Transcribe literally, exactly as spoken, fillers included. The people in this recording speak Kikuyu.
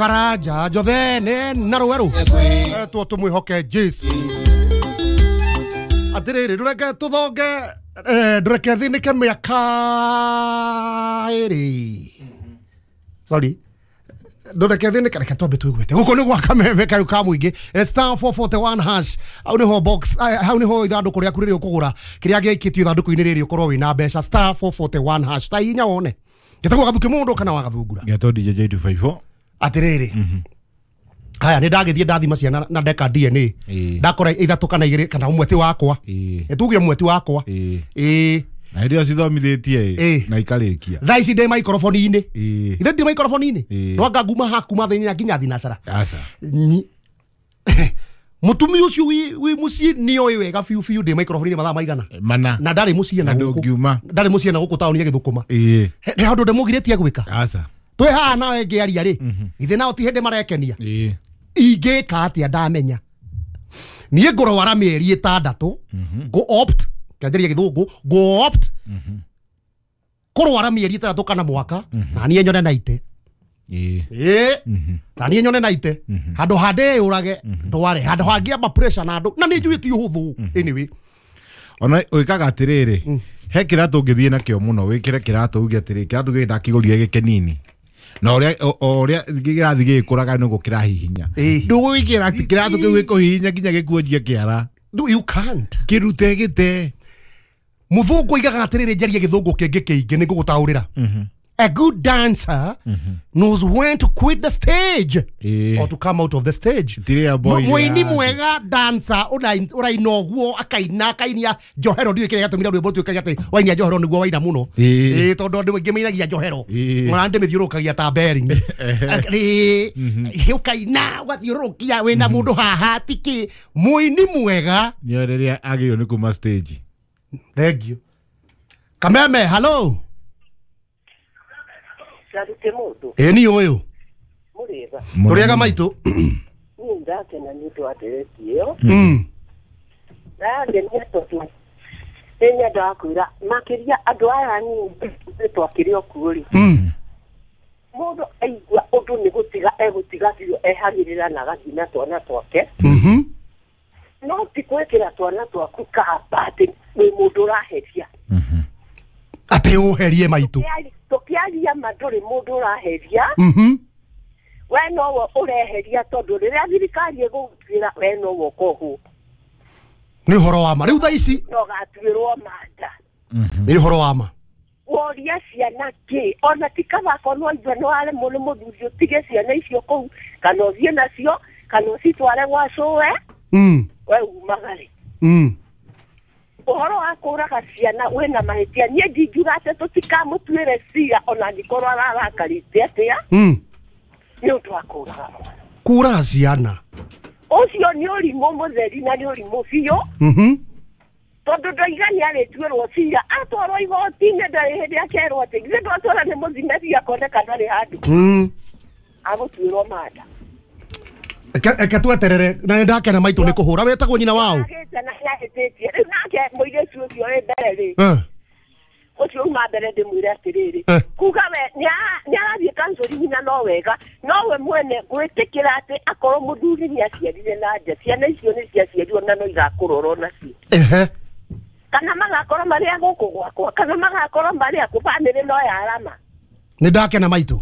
Karanja Jothene na Rweru tuo tumwihoke Jesu atiriri ndureke tuthonge ndureke thinike miaka iri sorry ndureke thinike reke twambe twigwete guku ni gwa kameme kayu ka muingi star four forty-one hash au niho box hau niho ithanduku riaku riri ukugura kiria giikitio ithanduku-ini riri ukorwo wina mbeca star four forty-one hash ta inya wone getagwo gathuki mundu kana wagathungura geto D J J two five four atiriri haya ni ndagithie ndathima ciana na ndeka D N A ndakora ithatu kana igiri kana umwe ti wakwa etuge umwe ti wakwa eh na ndio cithomithĩtie na ikarikia thaa ici ndĩ microphone-inĩ ithe ndĩ microphone-inĩ no anga nguma haku mathenya nginya thinacara aca mutumia ucio wi muciĩ nĩoĩ wega biũ biũ ndĩ microphone-inĩ mathaa maigana mana na ndarĩ muciĩ na gũkũ ndarĩ muciĩ na gũkũ taũni ya Gĩthũkũma he handũ ndĩmũgirĩtie gwĩka aca twĩ haha nawe ngĩaria rĩ githĩ nao ti hĩndĩ marekenia ingĩka atĩa ndamenya niĩ ngũrwara mĩeri ĩtandatũ ngũ opt kĩanjĩrĩria gĩthũngũ ngũ opt kũrwara mĩeri ĩtandatũ kana mwaka na niĩ nyone naite ĩĩ na niĩ nyone naite handũ ha ndĩyũrage ndware handũ hangĩamba pressure na andũ na nĩ njũĩ ti ũhũthũ anyway ona ũikaga atĩrĩrĩ he kĩratũ ũngĩthiĩ nakĩo mũno wĩkĩre kĩratũ uge atĩrĩ kĩratũ gĩkĩ ndakĩgũrire gĩkenini na ũrĩa ũrĩa gĩrathiĩ gĩgĩkũraga nĩguo kĩrahihinya ndũgwĩkĩra kĩratũ kĩu gĩkũhihinya nginya gĩkuonjie kĩara no you can't kĩrute gĩte mũthũngũ aigaga atĩrĩrĩ njarie gĩthũngũ kĩngĩ kĩingĩ nĩ ngũgũtaũrĩra a good dancer mm -hmm. knows when to quit the stage e. or to come out of the stage. Muini mwega dancer uraina ũguo akaina akainia njohero ndiũĩ kĩrĩa gĩatũmire rwĩmbo rũtuĩke atĩ wainia njohero nĩguo waina mũno ĩĩ tondũ andũ aingĩ mainagia njohero ona ndĩmĩthiũrũrũkagia ta bearing ĩĩ ũkaina ũgathiũrũrũkia wĩna mũndũ haha tikĩ mũini mwega nĩoĩ rĩrĩa agĩrĩirwo nĩ kuma stage. Thank you. Kameme, hello. Carute mundu ĩ ni ũyũ mũrĩega tũrĩega maitũ niĩ ndakena nĩ ũndũ wa ndereti ĩyo na yangenia tondũ nĩ nyendaga kwĩra makĩria andũ aya anini twakĩrĩ o kuo rĩ mũndũ aigua ũndũ nĩ gũtiga egũtiga biũ ehagĩrĩra na agathiĩ na twana twake no ti gwĩkĩra twana twaku kamba atĩ wĩ mũndũ ũraheria atĩ ũherie maitũ tukiaria ma ndũrĩ mũndũ ũraheria we nowe ũreheria tondũ rĩrĩa thirikari ĩgũgũtuĩra we nowe ũkohwo nĩ ũhoro wa ma rĩu thaa ici no gatuĩrwo manda nĩ ũhoro wa ma woria ciana kĩ ona ti kaba korwo ithuĩ nĩ waremwo nĩ mũthuri ũtige ciana icio kũu kana ũthiĩ nacio kana ũcitware gwa cũwe we umagare ũhoro wa kũraga ciana wĩna mahĩtia niĩ ndingiuga atĩ tũtikamũtuĩre cira ona angĩkorwo ararakarĩte atĩa nĩ ũndũ wa kũraga mwana kũraga ciana ũcio nĩ ũrimũ mũtheri na nĩ ũrimũ biũ tondũ ndoiga nĩ arĩtuĩrwo cira atwarwo igoti-inĩ ndarĩ hĩndĩ akerwo atĩ githĩ ndwatwara nĩ mũthime biũ akoneka ndarĩ handũ agũtuĩrwo manda eke tweterere na nĩ ndakena maitũ nĩ kũhũra wetagwo nyina wao rĩu nake mũirĩtu ũcio wĩ mbere rĩ ũcio uma mbere ndĩmwĩre atĩrĩrĩ kuga we nĩ arathiĩ counseling na no wega no we mwene gwĩtĩkĩra atĩ akorwo mũthuri nĩ aciarire na nja ciana icio nĩ ciaciarirwo na no igakũrorwo nacio kana magakorwo marĩ a gũkũ gwakwa kana magakorwo marĩ aku bamĩrĩ no yarama nĩ ndakena maitũ